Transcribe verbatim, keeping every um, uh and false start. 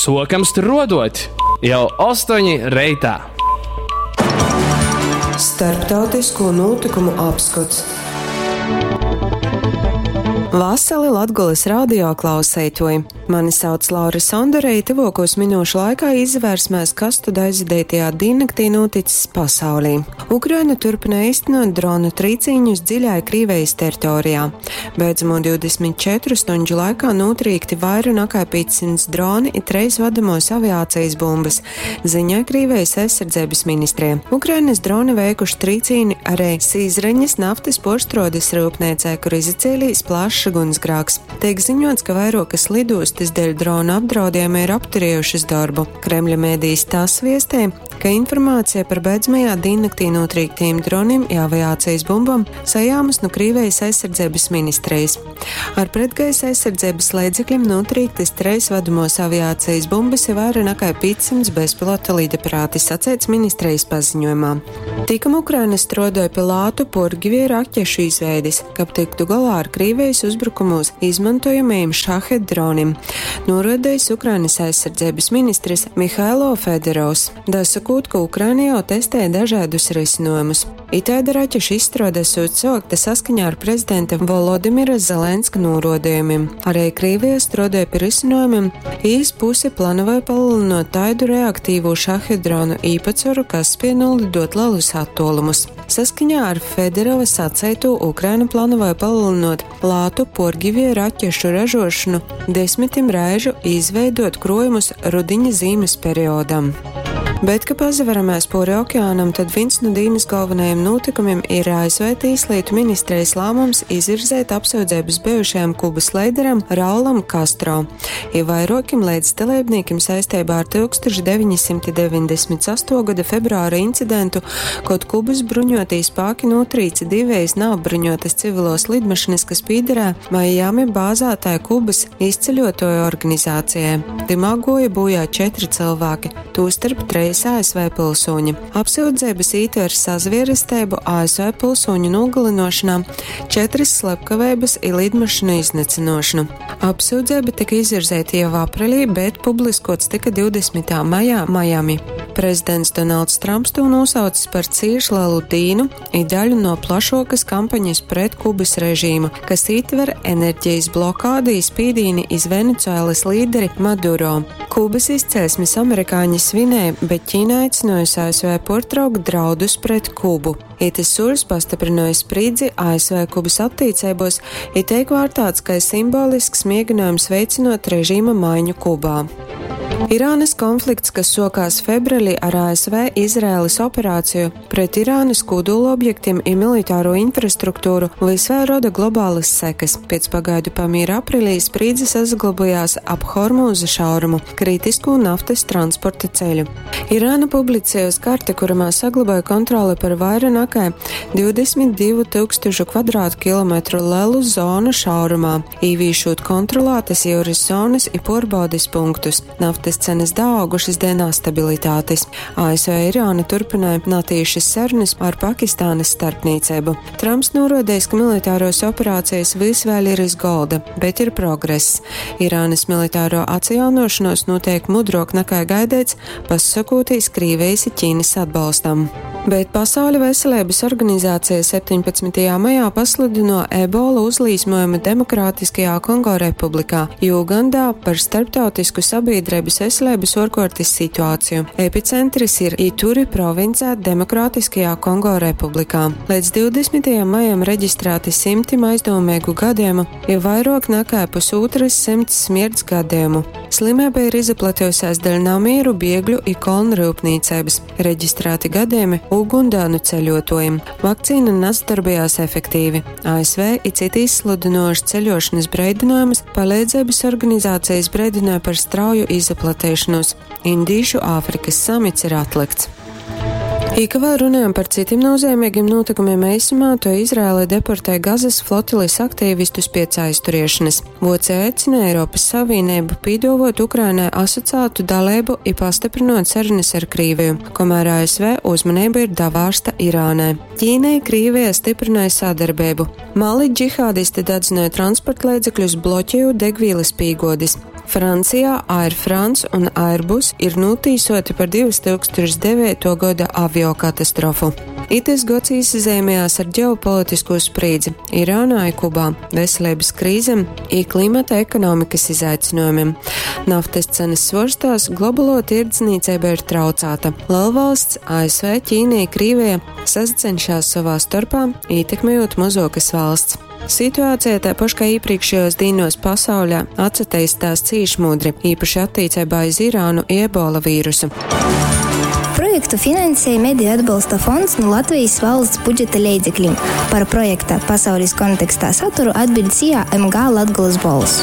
Sokam struodot jau ostoņi reitā. Starptautisko notikumu apskots. Vasali Latgolas radio klauseitoji! Mani sauc Laura Sondore, i tyvuokūs minūšu laikā izvērsimies, kas tad aizvadītajā diennakti noticis pasaulī. Ukraina turpina īstenot dronu trīcīņus dziļai Krīvijas teritorijā. Beidzamo divdesmit četru stundžu laikā notrīkti vairāk nekā piecsimt droni i treis vadamos aviācijas bumbas, ziņoja Krīvijas aizsardzības ministrija. Ukrainas droni veikuši trīcīni arī Sīzreņas naftas porštrodes rūpniecē, kur izacēlījis plašs ugunsgrāks. Tiek ziņots, ka vairokas lidostas dēļ drona apdraudējuma ir apturējušas darbu. Kremļa mēdījis TASS viestē, ka informācija par beidzamajā diennaktī notrīktiem droniem i aviācijas bumbām sajāmas no Krīvijas aizsardzības ministrijas. Ar pretgaisa aizsardzības līdzekļiem notrīktas treis vadamos aviācijas bumbas ir vairāk nekā piecsimt bezpilota lidaparāti, sacēts ministrijas paziņojumā. Tikam Ukraina strodoja pie lātu purgivie raķešu izveidis, kab tiktu galā ar Krīvijas uzbrukumos izmantojamajiem šahed dronim, norodējis Ukrainas aizsardzības ministrs Mihailo Federovs. Dasakūt, ka Ukraina jau testē dažādus risinājumus. Itāda raķešu izstrāde esot sākta saskaņā ar prezidenta Volodimira Zelenska norodījumiem. Arī Krīvija strādāja pie risinājumiem, īs pusi planoja palielinot taidu reaktīvo šahed dronu īpatsvaru, kas spēj nolidot lielus attālumus. Saskaņā ar Federova saceitu Ukraina planoja palielinot lātu porgivie raķešu ražošanu desmitim reižu izveidot krojumus rudiņa zīmes periodam. Bet, ka pazaveramies pori okeānam, tad viens no dīnas galvenajiem notikumiem ir A S V Tīslietu ministrijas lēmums izvirzēt apsūdzības bijušajam Kubas līderam Raulam Castro, i vairokim līdzdalībniekiem saistībā ar tūkstoš deviņsimt deviņdesmit asto gada februāra incidentu, kad Kubas bruņotī spēki notrīca divējas neapbruņotas civilos lidmašīnas, kas pīderē Miami bāzētāja Kubas izceļotoju organizācijai. Timā goja bojā četri cilvēki, tostarp treis A S V pilsoņi. Apsūdzības ietver sazvierestēbu A S V pilsoņu nogalinošanā, četras slepkavības i lidmašīnu iznīcinošanu. Apsūdzība tika izvirzīta jau aprīlī, bet publiskots tika divdesmitā maijā Miami. Prezidents Donalds Trumps to nosaucis par cieši lielu dīnu i daļu no plašokas kampaņas pret Kubas režīmu, kas ietver enerģijas blokādi i spīdīni iz Venecuēlas līderi Maduro. Kubas izcelsmes amerikāņi svinēja, bet Ķīna aicinājusi A S V portraukt draudus pret Kubu. Itis soļs pastiprināja spriedzi A S V Kubas attiecībos, i teik vārtāts, ka simbolisks mēģinājums veicinot režīma maiņu Kubā. Irānas konflikts, kas sokās februārī ar A S V Izraēlas operāciju pret Irānas kodola objektiem i militāro infrastruktūru, vis vēl roda globālas sekas. Pēc pagaidu pamīra aprīlī spriedze saglabājās ap Hormūza šaurumu, kritisko naftas transporta ceļu. Irāna publicējusi karti, kuramā saglabāja kontroli par vairāk nekā divdesmit divu tūkstošu kvadrātkilometru lielu zonu šaurumā, īvīšot kontrolētas jūras zonas i porbaudes punktus. Naftas cenas daaugušas dēļ nestabilitātes. A S V Irāna turpināja natīšas sarunas ar Pakistānas starpniecību. Trumps norodējis, ka militāros operācijas vis vēl ir iz golda, bet ir progress. Irānas militāro atjaunošanos notiek mudrok nekā gaidīts, pasakotīs Krīvijas i Ķīnas atbalstam. Bet Pasaules veselības organizācija septiņpadsmitajā maijā pasludino ebola uzlīsmojumu Demokrātiskajā Kongo Republikā, Ugandā par starptautisku sabiedrības veselības orkortis situāciju. Epicentris ir Ituri provincē Demokrātiskajā Kongo Republikā. Līdz divdesmitajam maijam reģistrēti simtim aizdomīgu gadījumu, ir vairāk nekā pusotras simts smirts gadījumu. Slimība ir izplatījusies dēļ namieru, biegļu i kolnu rūpnīcības. Reģistrēti gadījumi Ugundānu ceļotājiem. Vakcīna nesadarbojās efektīvi. A S V i citi izsludinoši ceļošanas breidinājumus, palīdzības organizācijas breidināja par strauju izplatīšanos. Indīšu Āfrikas samits ir atlikts. I ka vēl runājam par citiem nozīmīgiem notikumiem eisumā, to Izraēla deportē Gazas flotilis aktīvistus pēc aizturēšanas. Voce aicina Eiropas Savienību pīdovot Ukrainai asociētu dalību i pastiprinot sarunas ar Krīviju, kamēr A S V uzmanība ir davārsta Irānai. Ķīnai Krīvija stiprināja sadarbību. Mali džihādisti dedzināja transporta līdzekļus, bloķējot degvielas pīgodis. Francijā Air France un Airbus ir nūtīsoti par divtūkstoš deveituo goda aviokatastrofu. Itys gods īsazeimējās ar ģeopolitisko sprīdzi Irānā i Kubā, veselības krīzem i klimata ekonomikas izaicinājumiem. Naftas cenas svorstās, globālo tirdzniecība ir traucāta. Lielvalsts A S V, Ķīna, Krīvija sasacenšās savā starpā, ietekmējot mozokas valsts. Situācija tāpaši kā iepriekšējos dīnos pasaulē atsateistās cīši mudri, īpaši attiecībā iz Irānu i ebola vīrusu. Projektu finansēja Mediju atbalsta fonds nu Latvijas valsts budžeta leidzeklim. Par projekta Pasaules kontekstā saturu atbild S I A M G Latgolas Bolss.